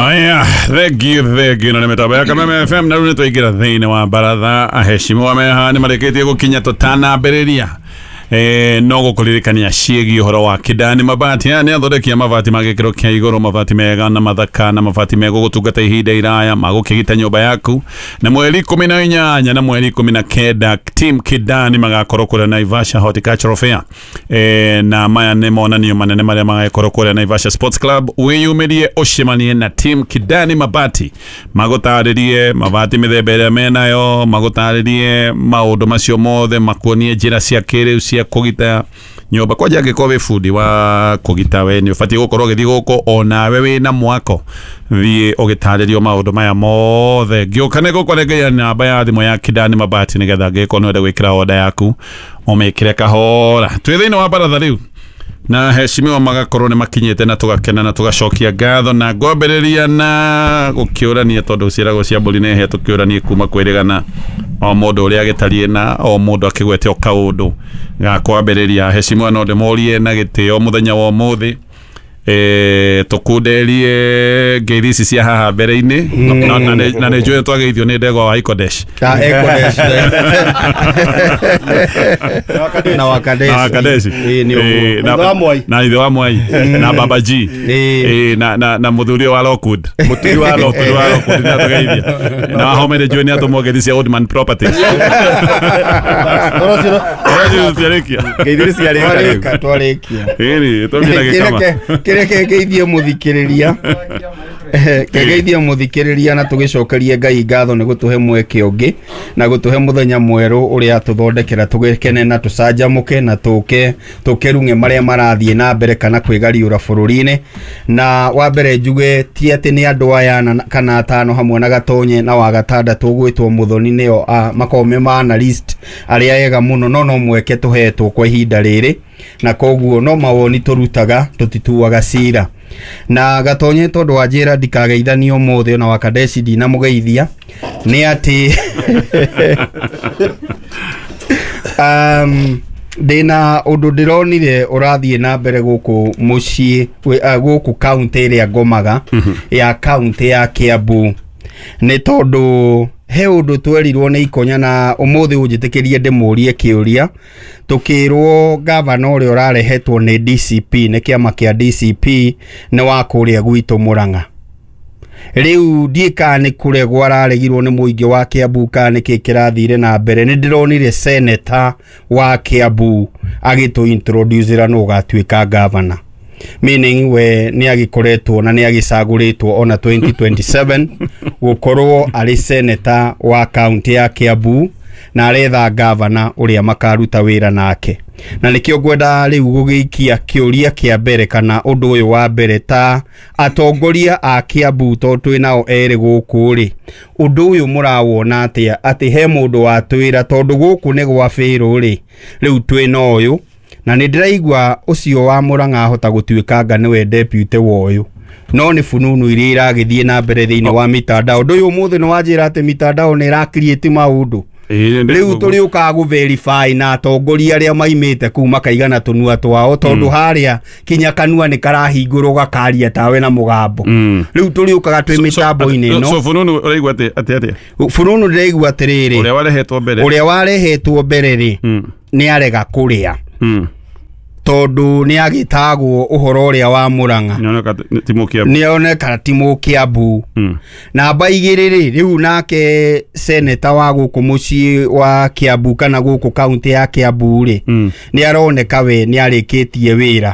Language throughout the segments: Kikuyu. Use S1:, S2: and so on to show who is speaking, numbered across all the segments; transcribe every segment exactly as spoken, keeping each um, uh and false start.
S1: Aya, thengiũ thengiũ na nĩ mĩtambo ya Kameme F M na rĩu nĩ twaingĩra thĩinĩ wa baratha. Aheshimiwa meha nĩ marĩkĩtie gũkinya tũtanambĩrĩria. Eh, no gũkũririkania ciĩgiĩ ũhoro wa Kidani Mabati. Aya nĩ athondeki a mabati ma gĩkĩro kĩa igũrũ, mabati mega na mathaka na mabati megũgũtungata ihinda iraya magũkĩgita nyũmba yaku. Na mweri ikũmi na inyanya na mweri ikũmi na kenda team Kidani magakorwo kũrĩa Naivasha Horticultural Fair. Eh, na maya nĩ monanio manene marĩa magakorwo kũrĩa Naivasha Sports Club. Wĩyumĩrie ũcemanie na team Kidani Mabati, magũtarĩrie mabati mĩthemba ĩrĩa menayo, magũtarĩrie maũndũ macio mothe, makuonie njĩra cia kĩrĩu cia kũgita nyũmba. Kwanja angĩkorwo wĩ bundi wa kũgita, we nĩ ũbatiĩ gũkorwo ũgĩthiĩ gũkũ, onawe wĩna mwako thiĩ ũgĩtarĩrio maũndũ maya mothe. Ngĩũka nĩ gũkũrengeria namba ya thimũ ya Kidani Mabati nĩgetha angĩkorwo nĩ ũrenda gwĩkĩra order yaku ũmĩkĩre kahora. Twĩ thĩinĩ wa baratha rĩu na heshimiwa magakorwo nĩ makinyĩte na tũgakena na tũgacokia ngatho na ngwambĩrĩria na gũkĩũrania tondũ ciĩragwo cia mbũri nĩ hĩa, tũkĩũranie kuma kwĩrĩgana o mũndũ ũrĩa agĩtariĩ na o mũndũ akĩgwete o kaũndũ ga kwambĩrĩria. Heshimiwa no ndĩmorie na gĩtĩo mũthenya wa ũmũthĩ, eh, tũkunderie ngeithi ici cia haha mbere-inĩ, na nĩ njũĩ twageithio nĩ ndegwa wa Ikodesh
S2: na Wakadesh
S1: na ithe wa Mwai na Baba G na na na mũthuri wa Lockwood, mũthuri wa Lockwood wa Lockwood nĩ atũgeithia, na Wahome nĩ njũĩ nĩ atũmwo ngeithi cia Oldman Properties.
S2: Ngeithi ciarĩka twarĩkia
S1: ĩni tũmĩra gĩkama
S2: kĩrĩa kĩgeithie mũthikĩrĩria kĩgeithie mũthikĩrĩria na tũgĩcokerie Ngai ngatho nĩ gũtũhe mweke ũngĩ na gũtũhe mũthenya mwerũ ũrĩa atũthondekera tũgĩkene na tũcanjamũke na tũke tũkerung'e marĩa marathiĩ na mbere kana kwĩgariũra bũrũri-inĩ. Na wa mbere njuge ti atĩ nĩ andũ aya kana atano hamwe na Gatonye na wa gatandatũ ũgwĩtwo Mũthoni nĩo makoragwo me ma analyst arĩa ega mũno, no no mweke tũhetwo kwa ihinda rĩrĩ na koguo no mawoni tũrutaga tũtituaga cira. Na Gatonye tondũ wanjĩra ndikageithanio ũmũthĩ ona Wakadeshi ndinamũgeithia nĩ atĩ um, ndĩna ũndũ ndĩronire ũrathiĩ na mbere gũkũ mũciĩ gũkũ kaunti ĩrĩa ngomaga ya kaunti ya Kiambu, nĩ tondũ he ũndũ twerirwo nĩ Ikonya na ũmũthĩ ũnjĩtĩkĩrie ndĩmũrie kĩũria. Tũkĩrwo gavana ũrĩa ũrarehetwo nĩ D C P nĩ kĩama kĩa D C P nĩ wa kũrĩa gwitũ Mũrang'a. Rĩu ndiĩ kana nĩ kũregwo araregirwo nĩ mũingĩ wa Kiambu kana nĩkĩ kĩrathire na mbere. Nĩ ndĩronire seneta wa Kiambu agĩtũ introduce nũ ũgatuĩka gavana, meaning we nĩ agĩkoretwo na nĩ agĩcagũrĩtwo ona twenty twenty-seven gũkorwo arĩ seneta wa kaunti ya Kiambu na aretha gavana ũrĩa makaruta wĩra nake. Na nĩkĩo ngwenda rĩu gũgĩikia kĩũria kĩa mbere kana ũndũ ũyũ wa mbere ta atongoria a Kiambu tondũ twĩ nao erĩ gũkũ rĩ, ũndũ ũyũ mũrawona atĩa atĩ he mũndũ watwĩra tondũ gũkũ nĩ gwa bĩrũ rĩ, rĩu twĩ na ũyũ na nĩ ndĩraigua ũcio wa Mũrang'a ahota gũtuĩka nga nĩwe deputy wa ũyũ, no nĩ fununu iria iragĩthiĩ na mbere thĩinĩ wa mitandao. Ũndũ ũyũ ũmũthĩ nĩ wanjĩra atĩ mitandao nĩ ĩra create maũndũ. Rĩu tũrĩũkaga gũ verify na atongoria arĩa maimĩte kũu makaigana tũnua twao tondũ harĩa kinya kanua nĩ karahingũrwo gakaria tawe na mũgambo. Rĩu tũrĩũkaga twĩ mĩtambo-inĩ ĩno.
S1: So fununu ũraigua atĩ atĩa?
S2: Fununu ndĩraigua atĩrĩrĩ,
S1: ũrĩa warehetwo mbere
S2: ũrĩa warehetwo mbere rĩ nĩ arega kũrĩa tondũ nĩ agĩtagwo ũhoro ũrĩa wa Mũrang'a nĩoneka ti Mũkĩambu. Namba igĩrĩ rĩ, rĩu nake seneta wa gũkũ mũciĩ wa Kiambu kana gũkũ kaunti ya Kiambu rĩ, nĩ aroneka we nĩ arĩkĩtie wĩra,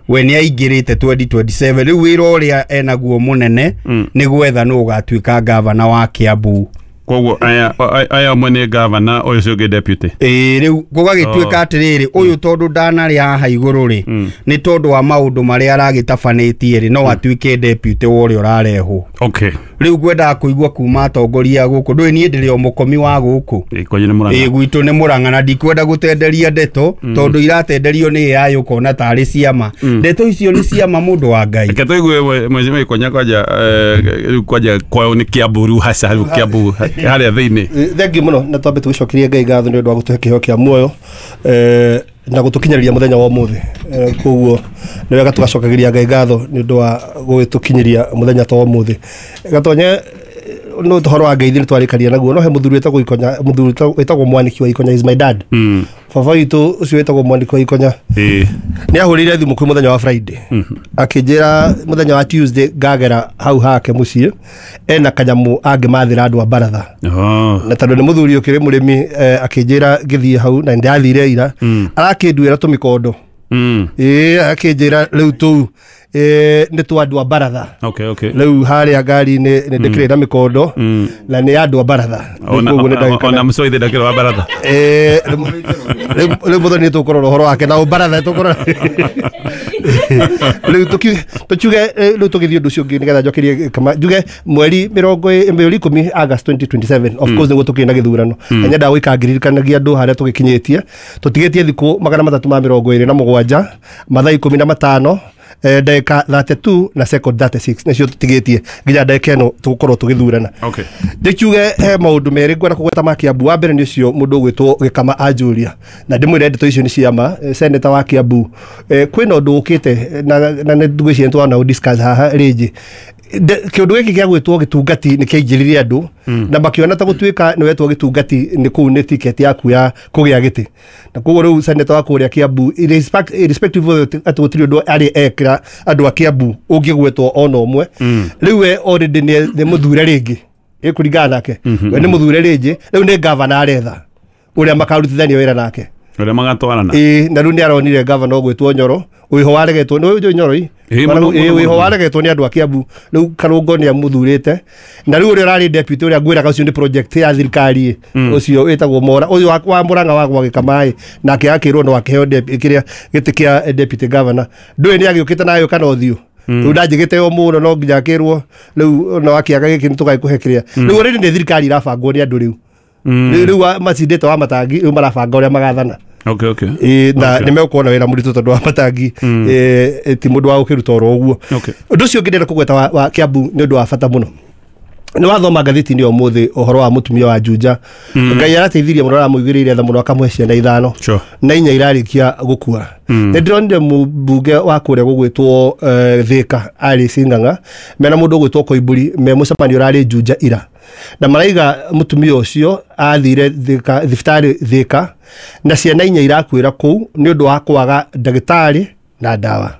S2: we nĩ aingĩrĩte twenty twenty-seven. Rĩu wĩra ũrĩa enaguo mũnene nĩ gwetha nũ ũgatuĩka gavana wa Kiambu.
S1: Koguo aya aya amwe nĩ gavana ũyũ ũcio ũngĩ deputy.
S2: Ĩĩ rĩu gũgagĩtuĩka atĩrĩrĩ, ũyũ tondũ ndanarĩ haha igũrũ rĩ, nĩ tondũ wa maũndũ marĩa aragĩtabanĩtie rĩ, no atuĩke deputy wa ũrĩa ũrarehwo.
S1: Okay.
S2: Rĩu ngwendaga kũigua kuma atongoria gũkũ, ndũĩ niĩ ndĩrĩ o mũkomi wa gũkũ. Ĩĩ gwitũ nĩ Mũrang'a na ndikwenda gũtenderia ndeto tondũ iratenderio nĩ A I ũkona tarĩ ciama. Ndeto icio nĩ ciama mũndũ wa Ngai.
S1: Reke tũigue mheshimiwa Ikonya kwanja rĩu kwanja kwao nĩ Kiambu rĩu haca rĩu Kiambu harĩa thĩinĩ.
S3: Thengiũ mũno na twambe tũgĩcokerie Ngai ngatho nĩ ũndũ wa gũtũhe kĩheo kĩa muoyo. Eh, Na gutukinyiriria muthenya wa umuthi. Koguo ni wega tugacokagiria Ngai ngatho ni undu wa gwitukinyiria muthenya ta umuthi. Gatonye no tuhoro wa ngeithi ni twarikaria naguo no he muthuri wetagwo Ikonya, muthuri wetagwo Mwaniki wa Ikonya is my dad. Mm. Baba witũ ucio wetagwo Mwaniki wa Ikonya
S1: eh
S3: ni ahurire thimu kwi muthenya wa Friday. Mm -hmm. Akinjira muthenya wa Tuesday ngagera hau hake mucii ena kanyamu angimathira andu a baratha.
S1: Oh.
S3: Na tondu ni muthuri ukiri murimi eh, akinjira ngithie hau na ndathire ira. Mm. Arakinduira tumikondo. Mm. Eh akinjira riu tu eh ni twa andu a baratha.
S1: Okay, okay.
S3: Riu haria ngari-ini ni ndikire na mikondo na ni andu a baratha.
S1: Koguo ni ndagika ona mucoithe ndakira wa baratha.
S3: Eh riu muthoni ni tukurora uhoro wake na baratha tukurora. Riu tuki tukiuge riu tugithie undu ucio ungi nigetha njokerie kama njuge mweri mirongo mweri ikumi August twenty twenty-seven of course niguo tukiri na githurano. Na nyendaga gwika ngiririkanagia andu haria tugikinyitie tutigitie thiku magana matatu ma mirongo iri na mugwanja mathaa ikumi na matano ndagika thirty-two na second thirty-six nicio tutigitie nginya ndagika ino tugukorwo tugithurana.
S1: Okay.
S3: Ndikiuge he maundu meri ngwenda kugweta ma Kiambu. Wa mbere ni ucio mundu ugwitwo Gikama Anjuria na ndimwire ndeto icio ni ciama senator wa Kiambu. Kwina undu ukite na na ndigwiciria twana discuss haha ringi kiundu giki gia gwitwo gitungati ni kiaingiririe andu na makiona ta gutuika ni wetwo gitungati ni kuu ni ticket yaku ya kugia giti na koguo riu senator wa kuria Kiambu irrespective of ati gutiri undu ari ekira andu a Kiambu ungigwetwo ona umwe riu we already ni muthure ringi ikuringana nake we ni muthure ringi riu ni governor aretha uria makarutithania wira nake
S1: uria magatwarana
S3: ii na riu ni aronire governor ugwitwo Nyoro wiho waregetwo ni Nyoro ii wiho waregetwo ni andu a Kiambu riu Karungo ni amuthurite na riu uria urari deputy uria ngwiraga ucio ni project ya thirikari ucio witagwo Mora uyu wa Murang'a wa gwa Gikamaĩ nake akirwo no akiheo kiria giti kia deputy governor ndui ni agiukite nayo kana uthiu riu ndanjigite o muno no nginya akirwo riu no akiaga giki ni tugaikuhe kiria riu already ni thirikari irabangwo ni andu riu riu macindite wa matangi riu marabanga uria magathana.
S1: Okay, okay.
S3: Eh na ni mekuona wira muritu tondu wa matangi eh ti mundu wa gukiruta oro uguo. Undu ucio ngindenda kugweta wa Kiambu ni undu wa bata muno. Ni wathoma ngathĩti-inĩ ũmũthĩ ũhoro wa mũtumia wa Juja. Ngai arateithirie mũno aramũigĩrĩire tha mũno akamũhe ciana ithano na inya irarĩkia gũkua. Nĩ ndĩronire mũmbunge wa kũrĩa gũgwĩtwo Thika Alice Ng'ang'a mena mũndũ ũgwĩtwo Koimburi me mũcemanio ũrarĩ Juja ira na maraiga mũtumia ũcio athire Thika thibitarĩ Thika na ciana inya irakuĩra kũu nĩ ũndũ wa kwaga ndagĩtarĩ na ndawa.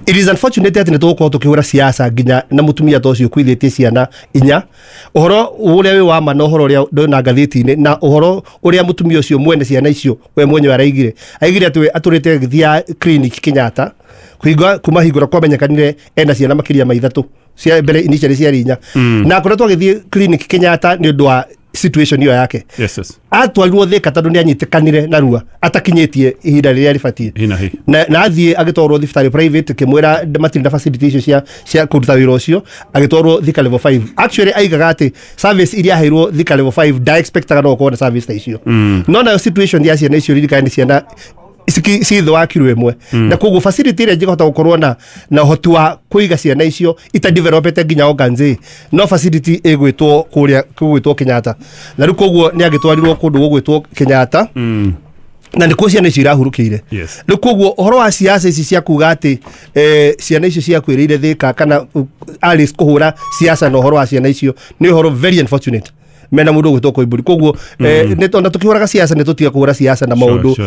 S3: It is unfortunate that nitugukorwo tukihura siasa nginya na mutumia ta ucio kuithitie ciana inya uhoro uria wi wa ma na uhoro uria ndona ngathĩti-inĩ na uhoro uria mutumia ucio mwene ciana icio we mwenyewe araigire aigire ati aturite githia clinic Kenyatta kuhinga kuma hingura kwamenyekanire ena ciana makiria ma ithatu cia mbere initially ciarĩ inya na akoretwo agithie clinic Kenyatta ni undu wa situation iyo yake.
S1: Yes, yes.
S3: Atwarirwo Thika tondu ni anyitikanire narua atakinyitie ihinda riria ribatie na na athie agitwarwo thibitarĩ private kimwira matirĩ na facility icio cia cia kũruta wĩra ũcio agitwarwo Thika level five. Actually aigaga atĩ service iria aheirwo Thika level five da expectaga no gũkorwo na service ta icio. No nayo situation ya ciana icio ririkane ciana ci thĩ wa kiro ĩmwe na koguo facility ĩrĩa njĩkahota gũkorwo na na ũhoti wa kũiga ciana icio ita developete nginya organs no facility ĩgwĩtwo kũrĩa kũgwĩtwo Kenyatta na rĩu koguo nĩ agĩtwarirwo kũndũ gũgwĩtwo Kenyatta na nĩkuo ciana icio irahurũkĩire. Rĩu koguo ũhoro wa siasa ici cia kuga atĩ ciana icio ciakuĩrĩire Thika kana Alice kũhũra siasa na ũhoro wa ciana icio nĩ ũhoro very unfortunate mena mundu gwitwo Koimburi koguo ona tukihuraga siasa ni tutiga kuhura siasa na maundu.